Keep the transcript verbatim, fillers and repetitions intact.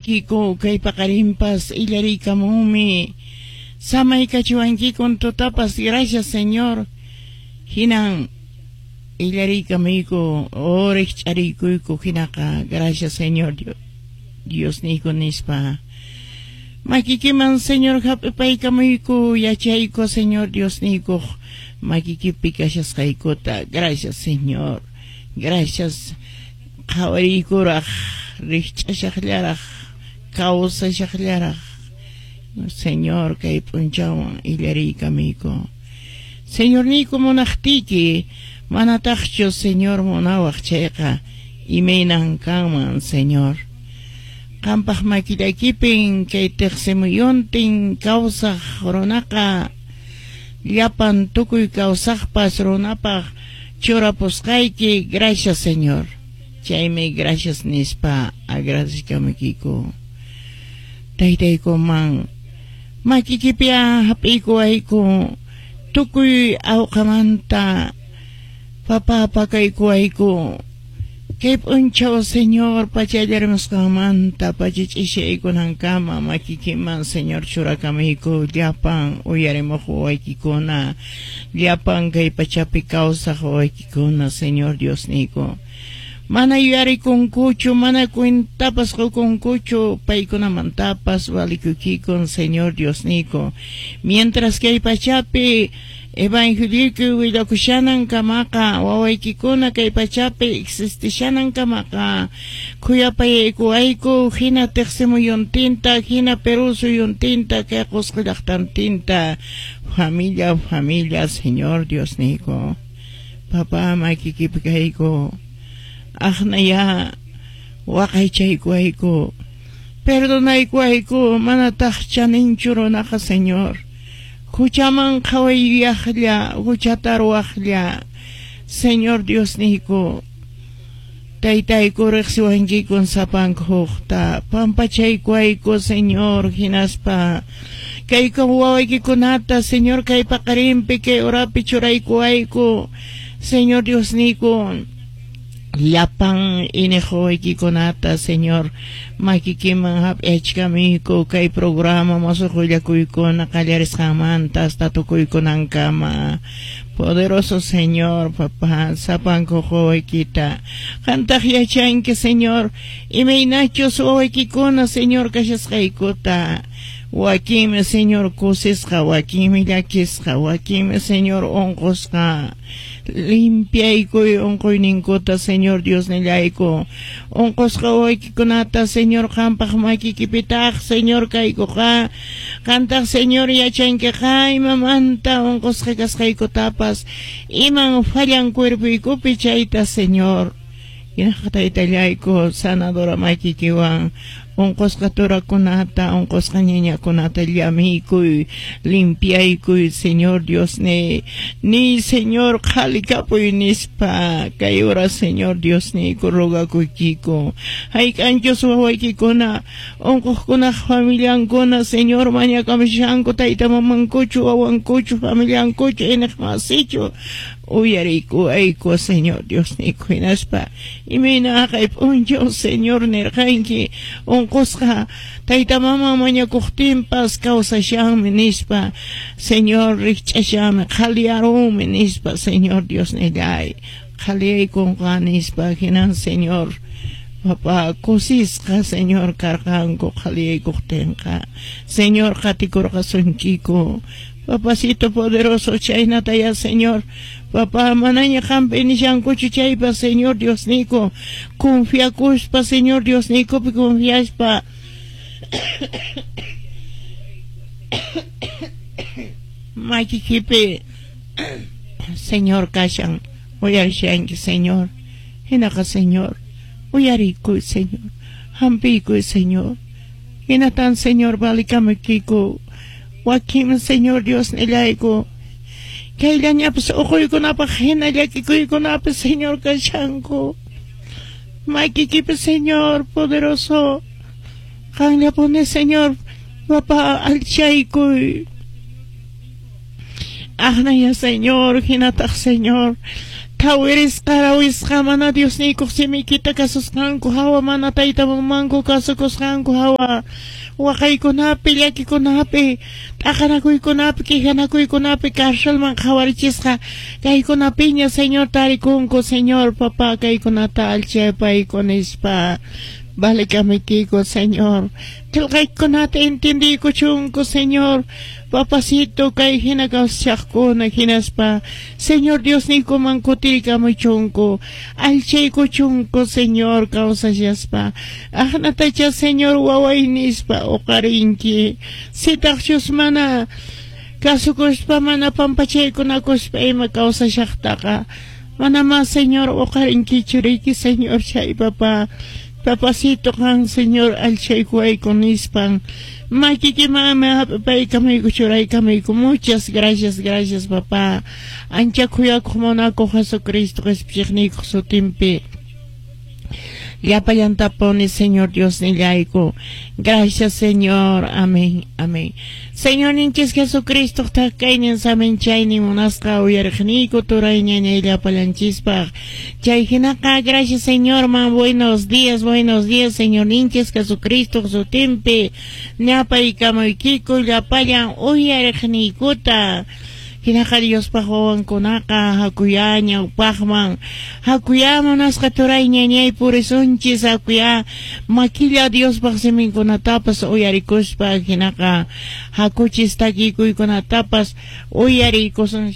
Alikamuykiko kay paqarinpas illariykamumi samaykachiwankikun tutapas gracias Señor hinan illariykamuyku oriqch'ariykuyku hinaqa gracias Señor Dios Diosniyku nispa makikiman Señor hap'ipaykamuyku yachayku Señor Diosniykuq makikipi kashasqaykuta gracias Señor gracias qhawariykuraq riqch'ashaqllaraq kawsashaqllaraq Señor kay p'unchawwan illariykamuyku Señorniyku munaqtiyki manataqchu Señor munawaq chayqa imaynan kanman Señor qampaq makillaykipin kay tiqsimuyuntin kawsaq runaqa llapan tukuy kawsaqpas runapaq churapusqayki gracias Señor chaymi gracias nispa agradecikamuykiku taytaykuman makikipiya hap'iykuwayku tukuy awqamanta papa pakaykuwayku kay p'unchaw Señor pachallarimusqanmanta pachach'ishaykunankama makikiman Señor churakamuyku llapan uyarimuq wawaykikuna llapan kay pachapi kawsaq wawaykikuna Señor Diosniyku mana yuyarikunkuchu mana cuentapas qukunkuchu paykunamantapas valikuykikun Señor Diosniyku mientras kay pachapi evangeliyku willakushanan kamaqa wawaykikuna kay pachapi existishanan kamaqa khuyapayaykuwayku hina tiqsimuyuntinta hina Perú suyuntinta kay Qusqu llaqtantinta familia familia Señor Diosniyku papá makikipi kayku aqnaya waqaychaykuwayku perdonaykuwayku manataq chaninchu runaqa Señor huchaman qhawayyaqlla huchata ruwaqlla Señor Diosniyku taytayku riqsiwankikun sapanka hukta pampachaykuwayku Señor hinaspa kayka wawaykikunata Señor kay paqarinpi kay urapi churaykuwayku Señor Diosniyku llapan iniq wawaykikunata Señor makikiman hap'iyachkamuyku kay programa musuq willakuykuna qallarisqanmanta hasta tukuykunankama poderoso Señor papá sapanku wawaykita qantaq yachanki Señor imaynachus wawaykikuna Señor kashasqaykuta wakinmi Señor kusisqa wakinmi llakisqa wakinmi Señor unqusqa limpiaykuy unquyninkuta Señor Diosnillayku unqusqa wawaykikunata Señor qampaq makikipitaq Señor kaykuqa qantaq Señor yachankiqa imamanta unqusqa kasqaykutapas iman fallan cuerpoykupi chayta Señor hinaqa taytallayku sanadora makikiwan unqusqa turakunata unqusqa ñañakunata llamiykuy limpiaykuy Señor Diosniy ni Señor qhalikapuy nispa kay hora Señor Diosniyku rogakuykiku hayk'anchus wawaykikuna unquqkunaq familiankuna Señor mañakamushanku tayta mamankuchu wawankuchu familiankuchu iniqmasichu uyariykuwayku Señor Diosniyku hinaspa imayna haqay p'unchaw Señor nirqanki unqusqa tayta mama mañakuqtinpas kawsashanmi nispa Señor riqch'ashanmi qhaliyarunmi nispa Señor Diosnillay qhaliyaykunqa nispa hinan Señor papá kusisqa Señor karqanku qhaliyaykuqtinqa Señor qatikurqasunkiku Papacito poderoso chaynataya Señor papá manaña qampi nishankuchu chaypa Señor Diosniyku confiakuspa Señor Diosniykupi confiaspa makikipi Señor kashan uyarishanki Señor hinaqa Señor uyariykuy Señor hampiykuy Señor hinatan Señor valikamuykiku wakin Señor Diosnillayku kayllañapas uquykunapaq hina llakikuykunapas Señor kashanku makikipi Señor poderoso qanllapuni Señor papá alchaykuy aqnaya Señor hinataq Señor Thawirisqa rawisqa mana Diosniykuq simiykita kasusqanku hawa mana tayta mamanku kasukusqanku hawa waqaykunapi llakikunapi t'aqanakuykunapi quejanakuykunapi carcelman qhawarichisqa kaykunapiña Señor tarikunku Señor papá kaykunata allchapayku nispa Valekamikiko, Señor. Qillqaykunata entendiykuchunku, Señor. Papacito, kay hina kawsachaqkuna hinaspa. Señor Diosniykuman kutirikamuchunku. Allchaykuchunku, Señor, kawsashaspa. Aqnatacha, Señor, waway nispa uqarinki. Sitaqchus mana kasukuspa mana pampachaykunakuspa ima kawsashaqtaqa. Mana mas, Señor, uqarinkichu riki, Señor, chay papá. Papacito qan Señor allchaykuwayku nispan makikimanmi hap'ipaykamayku churaykamayku. Muchas gracias, gracias papá. Ancha khuyakuq munakuq Jesucristo qhispichiqniykuq sutinpi llapallantapuni Señor Dios nillayku. Gracias, Señor. Amén, amén. Señorninchis Jesucristo thakaynin saminchaynin munasqa uyariqniyku turay ñañay llapallanchispaq. Chay hinaqa gracias, Señor man. Buenos días, buenos días, Señorninchis Jesucristo sutinpi ñapaykamuykiku llapallan uyariqniykuta. Hinaqa Diospaq wawankunaqa hakuyá ñawpaqman hakuyá munasqa turay ñañay purisunchis hakuyá makilla Diospaq siminkunatapas uyarikuspa hinaqa hakuchis takikuykunatapas uyarikusun.